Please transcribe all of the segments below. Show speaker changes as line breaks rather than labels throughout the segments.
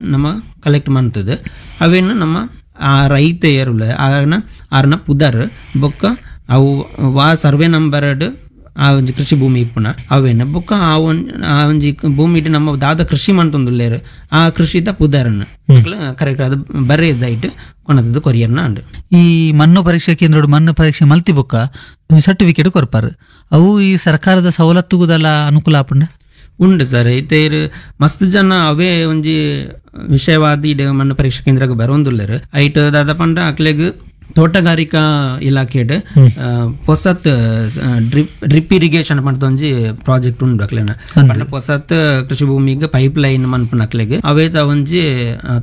ನಮ್ಮ ಕಲೆಕ್ಟ್ ಮಾಡ್ತದೆ. ಅವೇನು ನಮ್ಮ ಆ ರೈತ ಏರುಲ್ಲ ಆನ ಆರ್ನ ಪುದರ್ ಬೊಕ್ಕ ಅವು ವಾ ಸರ್ವೆ ನಂಬರ್ಡ್ ಆ ಒಂಜಿ ಕೃಷಿ ಭೂಮಿ ಇಪ್ಪುನ ಅವೇನ ಬೊಕ್ಕ ಆ ಒಂಜಿ ಭೂಮಿಡ್ ನಮ್ಮ ದಾದ ಕೃಷಿ ಮಂತೊಂದುಲ್ಲೇರು ಆ ಕೃಷಿದ ಪುದರ್ನ ಕರೆಕ್ಟ್ ಅದು ಬರೆಯದಾಯ್ಟ್ ಕೊನದದ್ದು ಕೊರಿಯರ್ನ ಅಂಡು.
ಈ ಮಣ್ಣು ಪರೀಕ್ಷಾ ಕೇಂದ್ರಡು ಮಣ್ಣು ಪರೀಕ್ಷೆ ಮಲ್ತಿ ಬೊಕ್ಕ ಸರ್ಟಿಫಿಕೇಟ್ ಕೊರ್ಪಾರು. ಅವು ಈ ಸರ್ಕಾರದ ಸವಲತ್ತುಗುದಲ್ಲ ಅನುಕೂಲ ಆಪುಂಡ?
ಉಂಡು ಸರ್. ಇತ್ತೆ ಮಸ್ತ್ ಜನ ಅವೇ ಒಂಜಿ ವಿಷಯವಾದ ಇಡೆ ಮಣ್ಣು ಪರೀಕ್ಷಾ ಕೇಂದ್ರಕ್ಕೆ ಬರೋಂದುಲ್ಲೆರ್. ಐಟ್ ದಾದ ಪಂಡ ಅಕ್ಲೆಗ್ ತೋಟಗಾರಿಕಾ ಇಲಾಖೆಡ್ ಪೊಸತ್ ಡ್ರಿಪ್ ಡ್ರಿಪ್ ಇರಿಗೇಷನ್ ಪಂಡ ಒಂಜಿ ಪ್ರಾಜೆಕ್ಟ್ ಉಂಡು ಅಕ್ಲೆನ. ಪಂಡ ಪೊಸತ್ ಕೃಷಿ ಭೂಮಿಗೆ ಪೈಪ್ ಲೈನ್ ಮನ್ಪುನ ಅಕ್ಲೆಗ್ ಅವೇತ ಒಂಜಿ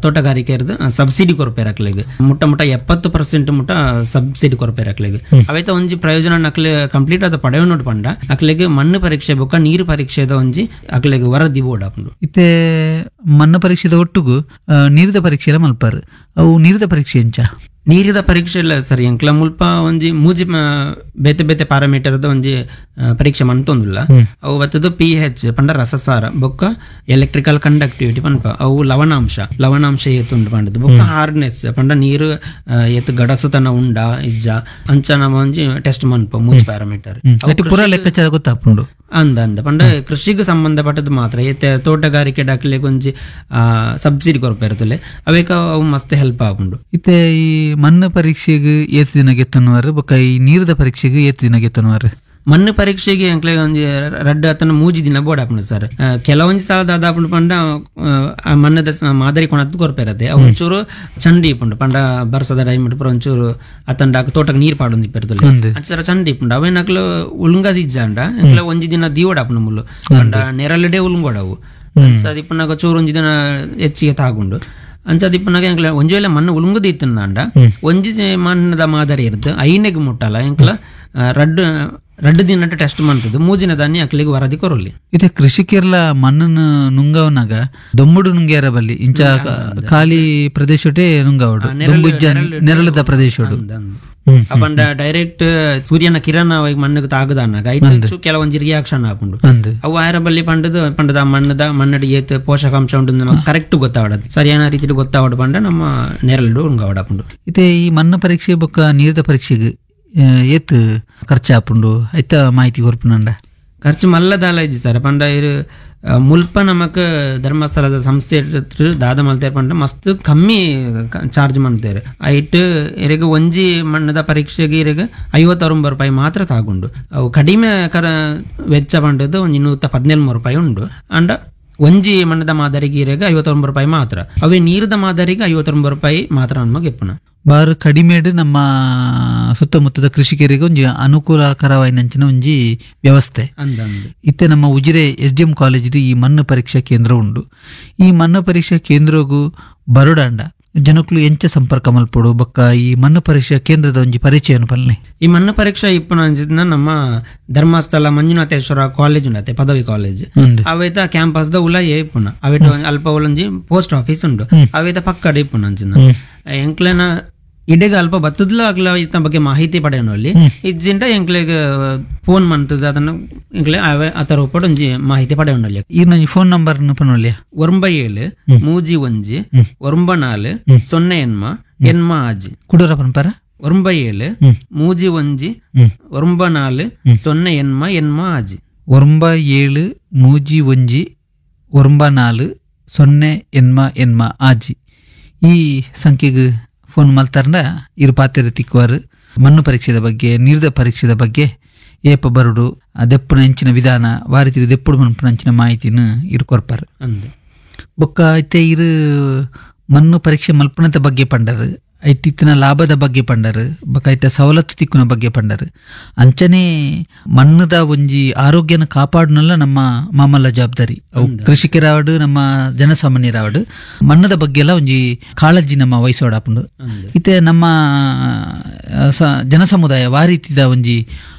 ತೋಟಗಾರಿಕೆ ಸಬ್ಸಿಡಿ ಕೊರ್ಪೇರ್ ಅಕ್ಲೆಗ್. ಮುಟ್ಟ ಮುಟ್ಟ 70% ಮುಟ್ಟ ಸಬ್ಸಿಡಿ ಕೊರ್ಪೇರ್ ಅಕ್ಲೆಗ್. ಅವೇತ ಒಂಜಿ ಪ್ರಯೋಜನ ಅಕ್ಲೆ ಕಂಪ್ಲೀಟ್ ಆದ ಪಡೆಯೋನು ಪಂಡ ಅಕ್ಲೆಗ್ ಮಣ್ಣು ಪರೀಕ್ಷೆ ಬೊಕ್ಕ ನೀರು ಪರೀಕ್ಷೆದ ಒಂಜಿ ಅಕ್ಲೆಗ್ ವರದಿ ಬೋರ್ಡ್ ಆಪುಂಡು.
ಇತ್ತೆ ಮಣ್ಣು ಪರೀಕ್ಷೆದ ಒಟ್ಟುಗು ನೀರಿದ ಪರೀಕ್ಷೆ ಎಲ್ಲ ಮಲ್ಪಾರು. ಅವು ನೀರಿದ ಪರೀಕ್ಷೆ ಎಂಚ?
ನೀರಿದ ಪರೀಕ್ಷೆ ಇಲ್ಲ ಸರ್. ಎಂಕ್ಲ ಮುಲ್ಪ ಒಂಜಿ ಮೂಜಿ ಬೇತೆ ಬೇತೆ ಪ್ಯಾರಾಮೀಟರ್ದ ಒಂಜಿ ಪರೀಕ್ಷೆ ಮಂತೊಂದುಲ್ಲ. ಅವು ಬತ್ತದು ಪಿ ಎಚ್ ಪಂಡ ರಸಸಾರ, ಬೊಕ್ಕ ಎಲೆಕ್ಟ್ರಿಕಲ್ ಕಂಡಕ್ಟಿವಿಟಿ ಪನ್ಪ ಅವು ಲವಣಾಂಶ, ಲವಣಾಂಶ ಏತುಂಡು ಪಂಡದು, ಬೊಕ್ಕ ಹಾರ್ಡ್ನೆಸ್ ಪಂಡ ನೀರು ಏತ್ ಗಡಸುತನ ಉಂಡ ಇಜ್ಜ ಅಂಚ ನಮ್ಮ ಒಂಜಿ ಟೆಸ್ಟ್ ಮನ್ಪ ಮೂಜಿ ಪ್ಯಾರಾಮೀಟರ್.
ಪೂರ ಲೆಕ್ಕಾಚಾರ ಗೊತ್ತಾಪುಂಡು.
ಅಂದ ಅಂದ ಪಂಡ ಕೃಷಿಗೆ ಸಂಬಂಧಪಟ್ಟದ್ದು ಮಾತ್ರ. ಏತೆ ತೋಟಗಾರಿಕೆ ಡಾಕ್ಲೆಗ್ ಒಂಜಿ ಸಬ್ಸಿಡಿ ಕೊರ್ಪೇರ್ತಲೆ ಅವೇಕ ಅವು ಮಸ್ತ್ ಹೆಲ್ಪ್ ಆಪುಂಡು.
ಇತ್ತೆ ಈ ಮಣ್ಣು ಪರೀಕ್ಷೆಗೆ ಏತ್ ದಿನ ಗೆತ್ತುನವರು ಬೊಕ್ಕ ಈ ನೀರದ ಪರೀಕ್ಷೆಗೆ ಏತ್ ದಿನ ಗೆತ್ತುನವರು?
ಮಣ್ಣು ಪರೀಕ್ಷೆಗೆ ಎಂಕ್ಲೆ ಒಂಜಿ ರಡ್ಡ್ ಅತನ ಮೂಜಿ ದಿನ ಬೋರ್ಡ್ ಆಪುಂಡು ಸರ್. ಕೆಲವೊಂಜಿ ಸಲ ದಾದ ಆಪುಂಡು ಪಂಡ ಆ ಮಣ್ಣದ ಮಾದರಿ ಕೊಣತ್ ಕೊರ್ಪೇರತ್ತೆ. ಅವು ಒಂಚೂರು ಚಂಡಿ ಇಪ್ಪುಂಡು ಪಂಡ ಬರ್ಸದ ಟೈಮ್ ಪೂರ ಒಂಚೂರು ಅತಂಡ ತೋಟಕ್ಕೆ ನೀರು ಪಾಡೊಂದು ಇಪ್ಪೆರ್ತಲೆ ಅಂಚರ ಚಂಡಿ ಇಪ್ಪುಂಡು. ಅವೇನಕ್ಲು ಉಲುಂಗದಿಜ್ಜಾಂಡ ಎಂಕ್ಲೆ ಒಂಜಿ ದಿನ ದೀವಡಾಪುಂಡು ಮುಲ್ಲು ಪಂಡ ನೆರಳಿಡೆ ಉಲುಂಗೋಡವು. ಅಂಚ ಇಪ್ಪುನಾಗ ಚೂರು ಒಂಜಿ ದಿನ ಹೆಚ್ಚಿಗೆ ತಾಗುಂಡು. ಅಂಚ ದಿಪ್ಪುನಾಗ ಎಂಕ್ಲೆ ಒಂಜಿ ವೇಳೆ ಮಣ್ಣು ಉಲುಂಗದ ಇತ್ತಂದಾಂಡ ಒಂಜಿ ಮಣ್ಣದ ಮಾದರಿ ಇರ್ದು ಐನೆಗ್ ಮುಟ್ಟಲ್ಲ ಎಂಕ್ಲ ರಡ್ಡ್ ರಡ್ಡ್ ದಿನ ಟೆಸ್ಟ್ ಮಾಡ್ತದೆ. ಮೂಜಿನ ದಾನಿ ಅಕ್ಲಿಗೆ ವರದಿ ಕೊರಲಿ.
ಇತ್ತೆ ಕೃಷಿಕರ್ಲ ಮಣ್ಣನ್ನು ನುಂಗವನಾಗ ದೊಮ್ಮುಡು ನುಂಗ್ಯಾರ ಬಲ್ಲಿ ಇಂಚ ಖಾಲಿ ಪ್ರದೇಶಟೇ ನುಂಗವಡು, ದೊಂಬು ಇಜ್ಜ ನೆರಳದ ಪ್ರದೇಶಡು.
ಅಪಂಡ ಡೈರೆಕ್ಟ್ ಸೂರ್ಯನ ಕಿರಣ ಮಣ್ಣಿಗೆ ತಾಗದಾನಾಗ ಐಟ್ ಕೆಲವೊಂಜಿ ರಿಯಾಕ್ಷನ್ ಆಪುಂಡು. ಅವು ಆಯರ ಬಲ್ಲಿ ಪಂಡದ ಪಂಡದ ಮಣ್ಣದ ಮಣ್ಣಡಿ ಏತ್ ಪೋಷಕಾಂಶ ಉಂಟು ನಮಗೆ ಕರೆಕ್ಟ್ ಗೊತ್ತಾವಡದು, ಸರಿಯಾದ ರೀತಿಯಲ್ಲಿ ಗೊತ್ತಾವಡು ಪಂಡ ನಮ್ಮ ನೆರಳು ಉಂಗವಡಾಪುಂಡು.
ಇತ್ತೆ ಈ ಮಣ್ಣು ಪರೀಕ್ಷೆ ಬೊಕ್ಕ ನೀರದ ಪರೀಕ್ಷೆಗೆ ಏತ್ ಖರ್ಚಾಪುಂಡು ಐತ ಮಾಹಿತಿ ಕೊರ್ಪುನಂಡ?
ಖರ್ಚು ಮಲ್ಲದಾಲ ಇಜ್ಜಿ ಸರ್. ಪಂಡ ಇರು ಮುಲ್ಪ ನಮಕ್ ಧರ್ಮಸ್ಥಳದ ಸಂಸ್ಥೆ ದಾದ ಮಲ್ತೇರ್ ಪಂಡ ಮಸ್ತ್ ಕಮ್ಮಿ ಚಾರ್ಜ್ ಮಾಡ್ತೇವೆ. ಐಟ್ ಇರೆಗ್ ಒಂಜಿ ಮಣ್ಣದ ಪರೀಕ್ಷೆಗೆ ಇರೆಗ್ 59 ರೂಪಾಯಿ ಮಾತ್ರ ತಾಗುಂಡು. ಅವು ಕಡಿಮೆ ಕರ ವೆಚ್ಚ ಪಂಡದ್ದು ಒಂಜಿ 113 ರೂಪಾಯಿ ಉಂಡು. ಅಂಡ ಒಂಜಿ ಮಣ್ಣದ ಮಾದರಿಗೆ ಇರೆಗ್ 59 ರೂಪಾಯಿ ಮಾತ್ರ. ಅವೇ ನೀರದ ಮಾದರಿಗೆ 59 ರೂಪಾಯಿ ಮಾತ್ರ ನಮಗೆ ಇಪ್ಪುನ.
ಬಾರು ಕಡಿಮೆಡ್ ನಮ್ಮ ಸುತ್ತಮುತ್ತದ ಕೃಷಿಕರಿಗೆ ಒಂಜಿ ಅನುಕೂಲಕರವಾಯಿನಂಚಿನ ಒಂಜಿ ವ್ಯವಸ್ಥೆ. ಇತ್ತೆ ನಮ್ಮ ಉಜಿರೆ ಎಸ್.ಡಿ.ಎಂ ಕಾಲೇಜ್ ಈ ಮಣ್ಣು ಪರೀಕ್ಷಾ ಕೇಂದ್ರ ಉಂಡು. ಈ ಮಣ್ಣು ಪರೀಕ್ಷಾ ಕೇಂದ್ರಗೂ ಬರೋಡಾಂಡ ಜನಕ್ಕಳು ಎಂಚ ಸಂಪರ್ಕ ಮಲ್ಪೊಡು ಬೊಕ್ಕ ಈ ಮಣ್ಣು ಪರೀಕ್ಷಾ ಕೇಂದ್ರದ ಒಂಜಿ ಪರಿಚಯನು ಪಲ್ನೆ?
ಈ ಮಣ್ಣು ಪರೀಕ್ಷಾ ಇಪ್ಪುನ ಅಂಚಿನ ನಮ್ಮ ಧರ್ಮಸ್ಥಳ ಮಂಜುನಾಥೇಶ್ವರ ಕಾಲೇಜ್ ಉಂಡತೆ ಪದವಿ ಕಾಲೇಜ್ ಅವೇತ ಕ್ಯಾಂಪಸ್ ದ ಉಲಯೇ ಇಪ್ಪುನ. ಅವೇಟ ಅಲ್ಪ ಉಲಂಜಿ ಪೋಸ್ಟ್ ಆಫೀಸ್ ಉಂಡು, ಅವೇತ ಪಕ್ಕಡ ಇಪ್ಪುನ ಅಂಚಿನ. ಎಂಕ್ಲೆನ ಇಡೆಗ ಅಲ್ಪ ಬತ್ತದ್ಲ ಅಗ್ಲ ಇತ್ತ ಬಗ್ಗೆ ಮಾಹಿತಿ ಪಡೆಯೋನಲ್ಲಿ ಇಜ್ಜಿಂಡ ಎಂಕ್ಲೆಗ್ ಫೋನ್ ಮಂತದ ಅದನ್ನ ಎಂಕ್ಲೆ ಆತರ ಒಪ್ಪಡು ಒಂಜಿ ಮಾಹಿತಿ ಪಡೆಯೋನಲ್ಲಿ.
ಈ ನಂಜಿ ಫೋನ್ ನಂಬರ್ ಪನೊಲಿಯ?
97 31 94 0 ಎನ್ಮ ಎನ್ಮ ಆಜಿ.
ಕುಡೂರ ಪನ್ಪರ?
97 31 94 0 ಎನ್ಮ ಎನ್ಮ ಆಜಿ.
97 31 94 0 ಎನ್ಮ ಎನ್ಮ ಆಜಿ. ಈ ಸಂಖ್ಯೆಗೆ ಫೋನ್ ಮಲ್ತಾರಂಡ ಇರು ಪಾತೆರ ತಿಕ್ಕುವಾರು. ಮಣ್ಣು ಪರೀಕ್ಷೆದ ಬಗ್ಗೆ ನೀರ್ದ ಪರೀಕ್ಷೆದ ಬಗ್ಗೆ ಏಪ ಬರುಡು ದೆಪ್ಪುನ ಅಂಚಿನ ವಿಧಾನ ವಾರಿತಿರು ದೆಪ್ಪುಡು ಮನ್ಪುನ ಅಂಚಿನ ಮಾಹಿತಿನ ಇರು ಕೊರ್ಪಾರು. ಬೊಕ್ಕ ಇತ್ತೆ ಇರು ಮಣ್ಣು ಪರೀಕ್ಷೆ ಮಲ್ಪುನದ ಬಗ್ಗೆ ಪಂಡರು, ಐಟಿತ್ತಿನ ಲಾಭದ ಬಗ್ಗೆ ಪಂಡರು, ಬೊಕ್ಕ ಐತ ಸವಲತ್ತು ತಿಕ್ಕುನ ಬಗ್ಗೆ ಪಂಡರು. ಅಂಚನೆ ಮಣ್ಣದ ಒಂಜಿ ಆರೋಗ್ಯನ ಕಾಪಾಡುನಲ್ಲ ನಮ್ಮ ಮಾಮಲ್ಲ ಜವಾಬ್ದಾರಿ. ಅವು ಕೃಷಿಕರಾವಡು ನಮ್ಮ ಜನಸಾಮಾನ್ಯರಾವಡು ಮಣ್ಣದ ಬಗ್ಗೆ ಎಲ್ಲ ಒಂಜಿ ಕಾಳಜಿ ನಮ್ಮ ವಹಿಸೋಡಾಪುಂಡು. ಇತ್ತೆ ನಮ್ಮ ಜನಸಮುದಾಯ ವಾರೀತಿದ ಒಂಜಿ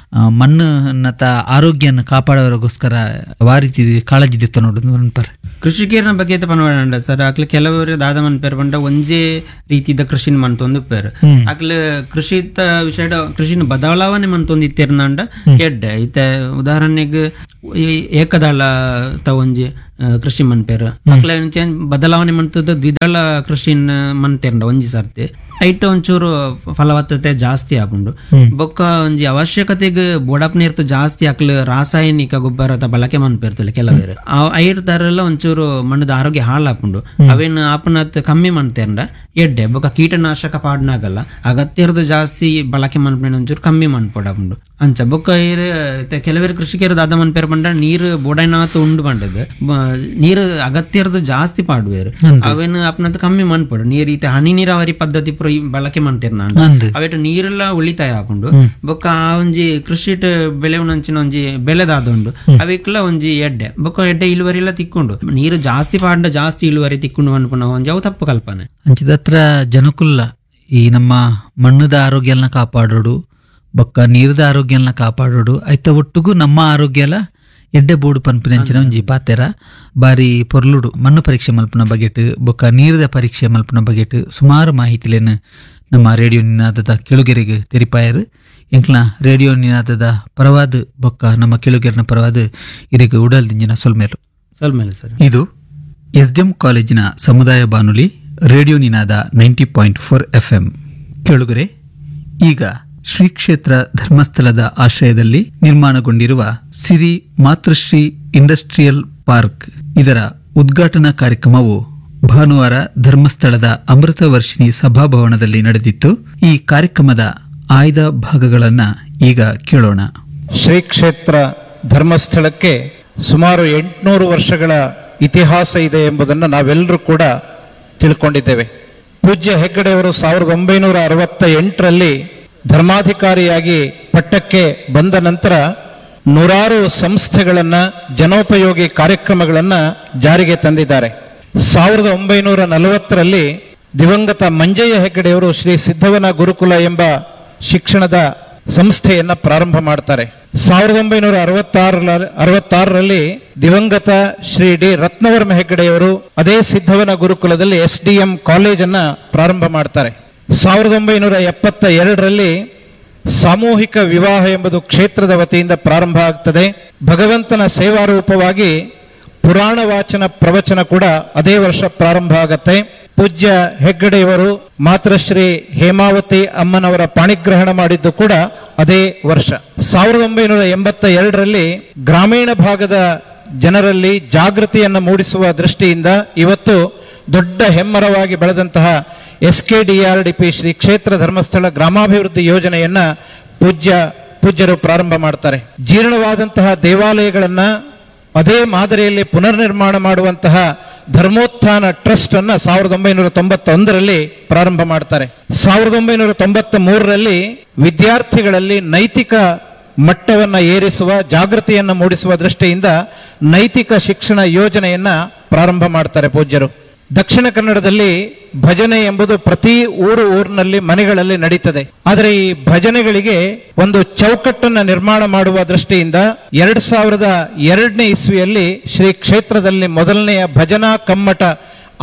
ಮಣ್ಣನ್ನತ ಆರೋಗ್ಯನ ಕಾಪಾಡೋರಿಗೋಸ್ಕರ ವಾರೀತಿ ಕಾಳಜಿ ದಿತ್ತ ನೋಡು ಅನ್ಪರ್.
ಕೃಷಿಕರನ ಬಗ್ಗೆ ಪನ್ವಾಡ ಸರ್. ಅಕ್ಲೆ ಕೆಲವರು ದಾದ ಮನ್ಪೇರ್ ಪಂಡ ಒಂಜೇ ರೀತಿದ ಕೃಷಿನ ಮಂತೊಂದು ಪೇರ್. ಅಕ್ಲೆ ಕೃಷಿತ ವಿಷಯ ಕೃಷಿನ ಬದಲಾವಣೆ ಮಂತೊಂದು ಇತ್ತಿರ್ನಾಂಡ ಎಡ್ಡೆ. ಇತ್ತೆ ಉದಾಹರಣೆಗೆ ಈ ಏಕದಳ ತ ಒಂಜಿ ಕೃಷಿ ಮನ್ಪೇರು ಅಕ್ಲೆ ಬದಲಾವಣೆ ಮಂತದ ದ್ವಿದಳ ಕೃಷಿ ಮನ್ತೇರ್ಂಡ ಒಂಜಿ ಸರ್ತಿ ಐಟ್ ಒಂಚೂರು ಫಲವತ್ತತೆ ಜಾಸ್ತಿ ಆಪುಂಡು. ಬೊಕ್ಕ ಒಂಜಿ ಅವಶ್ಯಕತೆಗ್ ಬೋಡಪ್ ನೀರ್ತು ಜಾಸ್ತಿ ಅಕ್ಲು ರಾಸಾಯನಿಕ ಗೊಬ್ಬರ ಬಳಕೆ ಮನ್ಪೇರ್ತಲ್ಲ ಕೆಲವೇರು, ಐಟ್ ತರಲ್ಲ ಒಂಚೂರು ಮಣ್ಣದ ಆರೋಗ್ಯ ಹಾಳಾಪುಂಡು. ಅವೇನು ಆಪುನತ್ ಕಮ್ಮಿ ಮನ್ತೇರ್ಂಡ ಎಡ್ಡೆ. ಬೊಕ್ಕ ಕೀಟನಾಶಕ ಪಾಡ್ನಾಗಲ್ಲ ಅಗತ್ಯರ್ದು ಜಾಸ್ತಿ ಬಳಕೆ ಮನ್ಪೇನ ಒಂಚೂರು ಕಮ್ಮಿ ಮನ್ಪೊಡಾಪುಂಡು ಅಂಚ. ಬೊಕ್ಕ ಕೆಲವೇರು ಕೃಷಿಕರು ದಾದ ಮನ್ಪೇರ್ ಪಂಡ ನೀರು ಬೋಡೈನಾತ್ ಉಂಡು ಪಂಡದು ನೀರು ಅಗತ್ಯರ್ದು ಜಾಸ್ತಿ ಪಾಡುವೇರು, ಅವೇನು ಅಪ್ನಂತ ಕಮ್ಮಿ ಮನ್ಪೊಡು. ನೀರು ಈತ ಹನಿ ನೀರಾವರಿ ಪದ್ಧತಿ ಪೂರ ಬಳಕೆ ಮನ್ತೇರ್ ನಾಂಡ ಅವೇಟ ನೀರೆಲ್ಲ ಉಳಿತಾಯ ಆಪುಂಡು. ಬೊಕ್ಕ ಆ ಒಂಜಿ ಕೃಷಿಟ್ ಬೆಳೆವನಂಚಿನ ಒಂಜಿ ಬೆಳೆದಾದ ಉಂಡು ಅವೆಕ್ಲ ಒಂಜಿ ಎಡ್ಡೆ. ಬೊಕ್ಕ ಎಡ್ಡೆ ಇಳುವರಿ ಎಲ್ಲ ತಿಕ್ಕೊಂಡು ನೀರು ಜಾಸ್ತಿ ಪಾಡ್ಡ ಜಾಸ್ತಿ ಇಳುವರಿ ತಿಕ್ಕೊಂಡು ಅನ್ಪುನ ಒಂಜಿ ಅವು ತಪ್ಪು ಕಲ್ಪನೆ.
ಅಂಚಿದತ್ರ ಜನಕುಲ್ಲ ಈ ನಮ್ಮ ಮಣ್ಣದ ಆರೋಗ್ಯನ ಕಾಪಾಡೋಡು, ಬೊಕ್ಕ ನೀರದ ಆರೋಗ್ಯನ ಕಾಪಾಡೋಡು, ಐತ ಒಟ್ಟುಗು ನಮ್ಮ ಆರೋಗ್ಯ ಎಲ್ಲ ಎಡ್ಡೆ ಬೋಡು ಪನ್ಪಿನಂಚಿನ ಒಂಜಿ ಪಾತೆರ ಬಾರಿ ಪೊರ್ಲುಡು. ಮಣ್ಣು ಪರೀಕ್ಷೆ ಮಲ್ಪುನ ಬಗೆಟ್ ಬೊಕ್ಕ ನೀರದ ಪರೀಕ್ಷೆ ಮಲ್ಪುನ ಬಗೆಟ್ ಸುಮಾರು ಮಾಹಿತಿಲೇನು ನಮ್ಮ ರೇಡಿಯೋ ನಿನಾದದ ಕೆಳುಗೆರೆಗೆ ತೆರಿಪಾಯರು. ಎಂಕ್ಲ ರೇಡಿಯೋ ನಿನಾದದ ಪರವಾದ ಬೊಕ್ಕ ನಮ್ಮ ಕೆಳುಗೆರನ ಪರವಾದ ಇರೆಗೆ ಉಡಲ್ದಿಂಜಿನ ಸೊಲ್ಮೇಲು.
ಸೊಲ್ಮೇಲು ಸರ್.
ಇದು ಎಸ್ಡಿಎಂ ಕಾಲೇಜಿನ ಸಮುದಾಯ ಬಾನುಲಿ ರೇಡಿಯೋ ನಿನಾದ 90.4 FM. ಕೇಳುಗರೆ, ಈಗ ಶ್ರೀ ಕ್ಷೇತ್ರ ಧರ್ಮಸ್ಥಳದ ಆಶ್ರಯದಲ್ಲಿ ನಿರ್ಮಾಣಗೊಂಡಿರುವ ಸಿರಿ ಮಾತೃಶ್ರೀ ಇಂಡಸ್ಟ್ರಿಯಲ್ ಪಾರ್ಕ್ ಇದರ ಉದ್ಘಾಟನಾ ಕಾರ್ಯಕ್ರಮವು ಭಾನುವಾರ ಧರ್ಮಸ್ಥಳದ ಅಮೃತವರ್ಷಿಣಿ ಸಭಾಭವನದಲ್ಲಿ ನಡೆದಿತ್ತು. ಈ ಕಾರ್ಯಕ್ರಮದ ಆಯ್ದ ಭಾಗಗಳನ್ನು ಈಗ ಕೇಳೋಣ.
ಶ್ರೀ ಕ್ಷೇತ್ರ ಧರ್ಮಸ್ಥಳಕ್ಕೆ ಸುಮಾರು 800 ವರ್ಷಗಳ ಇತಿಹಾಸ ಇದೆ ಎಂಬುದನ್ನು ನಾವೆಲ್ಲರೂ ಕೂಡ ತಿಳ್ಕೊಂಡಿದ್ದೇವೆ. ಪೂಜ್ಯ ಹೆಗ್ಗಡೆಯವರು 1968ರಲ್ಲಿ ಧರ್ಮಾಧಿಕಾರಿಯಾಗಿ ಪಟ್ಟಕ್ಕೆ ಬಂದ ನಂತರ ನೂರಾರು ಸಂಸ್ಥೆಗಳನ್ನು, ಜನೋಪಯೋಗಿ ಕಾರ್ಯಕ್ರಮಗಳನ್ನು ಜಾರಿಗೆ ತಂದಿದ್ದಾರೆ. 1940ರಲ್ಲಿ ದಿವಂಗತ ಮಂಜಯ್ಯ ಹೆಗ್ಗಡೆಯವರು ಶ್ರೀ ಸಿದ್ಧವನ ಗುರುಕುಲ ಎಂಬ ಶಿಕ್ಷಣದ ಸಂಸ್ಥೆಯನ್ನು ಪ್ರಾರಂಭ ಮಾಡ್ತಾರೆ. 1966ರಲ್ಲಿ ದಿವಂಗತ ಶ್ರೀ ಡಿ ರತ್ನವರ್ಮ ಹೆಗ್ಗಡೆಯವರು ಅದೇ ಸಿದ್ಧವನ ಗುರುಕುಲದಲ್ಲಿ SDM ಕಾಲೇಜನ್ನು ಪ್ರಾರಂಭ ಮಾಡ್ತಾರೆ. 1972ರಲ್ಲಿ ಸಾಮೂಹಿಕ ವಿವಾಹ ಎಂಬುದು ಕ್ಷೇತ್ರದ ವತಿಯಿಂದ ಪ್ರಾರಂಭ ಆಗ್ತದೆ. ಭಗವಂತನ ಸೇವಾರೂಪವಾಗಿ ಪುರಾಣ ವಾಚನ ಪ್ರವಚನ ಕೂಡ ಅದೇ ವರ್ಷ ಪ್ರಾರಂಭ ಆಗತ್ತೆ. ಪೂಜ್ಯ ಹೆಗ್ಗಡೆಯವರು ಮಾತೃಶ್ರೀ ಹೇಮಾವತಿ ಅಮ್ಮನವರ ಪಾಣಿಗ್ರಹಣ ಮಾಡಿದ್ದು ಕೂಡ ಅದೇ ವರ್ಷ. 1982ರಲ್ಲಿ ಗ್ರಾಮೀಣ ಭಾಗದ ಜನರಲ್ಲಿ ಜಾಗೃತಿಯನ್ನು ಮೂಡಿಸುವ ದೃಷ್ಟಿಯಿಂದ ಇವತ್ತು ದೊಡ್ಡ ಹೆಮ್ಮರವಾಗಿ ಬೆಳೆದಂತಹ SKDRDP Shri ಕ್ಷೇತ್ರ ಧರ್ಮಸ್ಥಳ ಗ್ರಾಮಾಭಿವೃದ್ಧಿ ಯೋಜನೆಯನ್ನ ಪೂಜ್ಯರು ಪ್ರಾರಂಭ ಮಾಡ್ತಾರೆ. ಜೀರ್ಣವಾದಂತಹ ದೇವಾಲಯಗಳನ್ನ ಅದೇ ಮಾದರಿಯಲ್ಲಿ ಪುನರ್ನಿರ್ಮಾಣ ಮಾಡುವಂತಹ ಧರ್ಮೋತ್ಥಾನ ಟ್ರಸ್ಟ್ ಅನ್ನ 1991ರಲ್ಲಿ ಪ್ರಾರಂಭ ಮಾಡ್ತಾರೆ. 1993ರಲ್ಲಿ ವಿದ್ಯಾರ್ಥಿಗಳಲ್ಲಿ ನೈತಿಕ ಮಟ್ಟವನ್ನ ಏರಿಸುವ, ಜಾಗೃತಿಯನ್ನು ಮೂಡಿಸುವ ದೃಷ್ಟಿಯಿಂದ ನೈತಿಕ ಶಿಕ್ಷಣ ಯೋಜನೆಯನ್ನ ಪ್ರಾರಂಭ ಮಾಡ್ತಾರೆ ಪೂಜ್ಯರು. ದಕ್ಷಿಣ ಕನ್ನಡದಲ್ಲಿ ಭಜನೆ ಎಂಬುದು ಪ್ರತಿ ಊರಿನಲ್ಲಿ ಮನೆಗಳಲ್ಲಿ ನಡೀತದೆ. ಆದರೆ ಈ ಭಜನೆಗಳಿಗೆ ಒಂದು ಚೌಕಟ್ಟನ್ನು ನಿರ್ಮಾಣ ಮಾಡುವ ದೃಷ್ಟಿಯಿಂದ 2002ನೇ ಇಸ್ವಿಯಲ್ಲಿ ಶ್ರೀ ಕ್ಷೇತ್ರದಲ್ಲಿ ಮೊದಲನೆಯ ಭಜನಾ ಕಮ್ಮಟ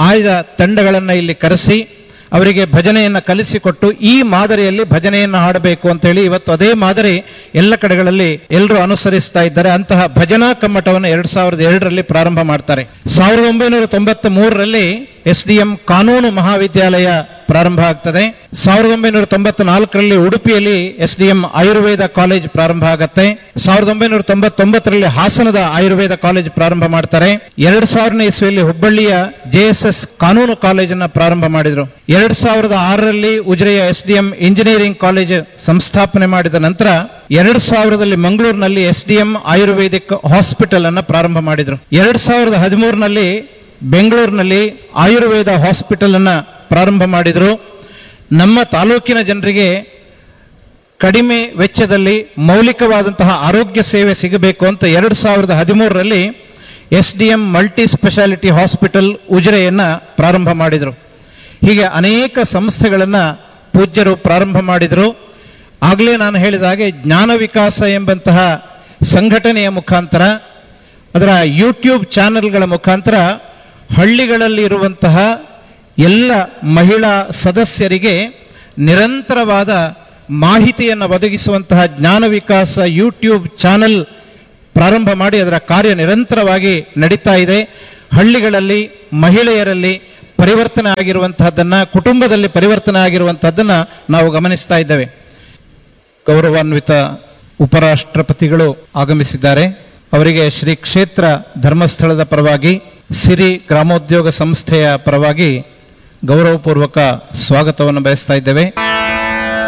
ಆಯ್ದ ತಂಡಗಳನ್ನು ಇಲ್ಲಿ ಕರೆಸಿ ಅವರಿಗೆ ಭಜನೆಯನ್ನು ಕಲಿಸಿಕೊಟ್ಟು ಈ ಮಾದರಿಯಲ್ಲಿ ಭಜನೆಯನ್ನು ಹಾಡಬೇಕು ಅಂತ ಹೇಳಿ ಇವತ್ತು ಅದೇ ಮಾದರಿ ಎಲ್ಲ ಕಡೆಗಳಲ್ಲಿ ಎಲ್ಲರೂ ಅನುಸರಿಸ್ತಾ ಇದ್ದಾರೆ. ಅಂತಹ ಭಜನಾ ಕಮ್ಮಟವನ್ನು 2002ರಲ್ಲಿ ಪ್ರಾರಂಭ ಮಾಡ್ತಾರೆ. 1993ರಲ್ಲಿ SDM ಕಾನೂನು ಮಹಾವಿದ್ಯಾಲಯ ಪ್ರಾರಂಭ ಆಗ್ತದೆ. 1994ರಲ್ಲಿ ಉಡುಪಿಯಲ್ಲಿ SDM Ayurveda college ಪ್ರಾರಂಭ ಆಗತ್ತೆ. 1999ರಲ್ಲಿ ಹಾಸನದ ಆಯುರ್ವೇದ ಕಾಲೇಜ್ ಪ್ರಾರಂಭ ಮಾಡ್ತಾರೆ. 2000ನೇ ಇಸ್ವಿಯಲ್ಲಿ ಹುಬ್ಬಳ್ಳಿಯ JSS ಕಾನೂನು ಕಾಲೇಜನ್ನು ಪ್ರಾರಂಭ ಮಾಡಿದರು. 2006ರಲ್ಲಿ ಉಜಿರೆಯ SDM engineering college ಸಂಸ್ಥಾಪನೆ ಮಾಡಿದ ನಂತರ 2000ದಲ್ಲಿ ಮಂಗಳೂರಿನಲ್ಲಿ SDM Ayurvedic hospital ಅನ್ನು ಪ್ರಾರಂಭ ಮಾಡಿದರು. 2013ನಲ್ಲಿ ಬೆಂಗಳೂರಿನಲ್ಲಿ ಆಯುರ್ವೇದ ಹಾಸ್ಪಿಟಲ್ ಅನ್ನು ಪ್ರಾರಂಭ ಮಾಡಿದರು. ನಮ್ಮ ತಾಲೂಕಿನ ಜನರಿಗೆ ಕಡಿಮೆ ವೆಚ್ಚದಲ್ಲಿ ಮೌಲಿಕವಾದಂತಹ ಆರೋಗ್ಯ ಸೇವೆ ಸಿಗಬೇಕು ಅಂತ 2013ರಲ್ಲಿ SDM multi speciality hospital ಉಜಿರೆಯನ್ನು ಪ್ರಾರಂಭ ಮಾಡಿದರು. ಹೀಗೆ ಅನೇಕ ಸಂಸ್ಥೆಗಳನ್ನು ಪೂಜ್ಯರು ಪ್ರಾರಂಭ ಮಾಡಿದರು. ಆಗಲೇ ನಾನು ಹೇಳಿದ ಹಾಗೆ ಜ್ಞಾನ ವಿಕಾಸ ಎಂಬಂತಹ ಸಂಘಟನೆಯ ಮುಖಾಂತರ, ಅದರ ಯೂಟ್ಯೂಬ್ ಚಾನೆಲ್ಗಳ ಮುಖಾಂತರ ಹಳ್ಳಿಗಳಲ್ಲಿ ಇರುವಂತಹ ಎಲ್ಲ ಮಹಿಳಾ ಸದಸ್ಯರಿಗೆ ನಿರಂತರವಾದ ಮಾಹಿತಿಯನ್ನು ಒದಗಿಸುವಂತಹ ಜ್ಞಾನ ವಿಕಾಸ ಯೂಟ್ಯೂಬ್ ಚಾನೆಲ್ ಪ್ರಾರಂಭ ಮಾಡಿ ಅದರ ಕಾರ್ಯ ನಿರಂತರವಾಗಿ ನಡೀತಾ ಇದೆ. ಹಳ್ಳಿಗಳಲ್ಲಿ ಮಹಿಳೆಯರಲ್ಲಿ ಪರಿವರ್ತನೆ ಆಗಿರುವಂತಹದ್ದನ್ನ, ಕುಟುಂಬದಲ್ಲಿ ಪರಿವರ್ತನೆ ಆಗಿರುವಂತಹದ್ದನ್ನ ನಾವು ಗಮನಿಸ್ತಾ ಇದ್ದೇವೆ. ಗೌರವಾನ್ವಿತ ಉಪರಾಷ್ಟ್ರಪತಿಗಳು ಆಗಮಿಸಿದ್ದಾರೆ. ಅವರಿಗೆ ಶ್ರೀ ಕ್ಷೇತ್ರ ಧರ್ಮಸ್ಥಳದ ಪರವಾಗಿ, ಸಿರಿ ಗ್ರಾಮೋದ್ಯೋಗ ಸಂಸ್ಥೆಯ ಪರವಾಗಿ ಗೌರವಪೂರ್ವಕ ಸ್ವಾಗತವನ್ನು ಬಯಸ್ತಾ ಇದ್ದೇವೆ.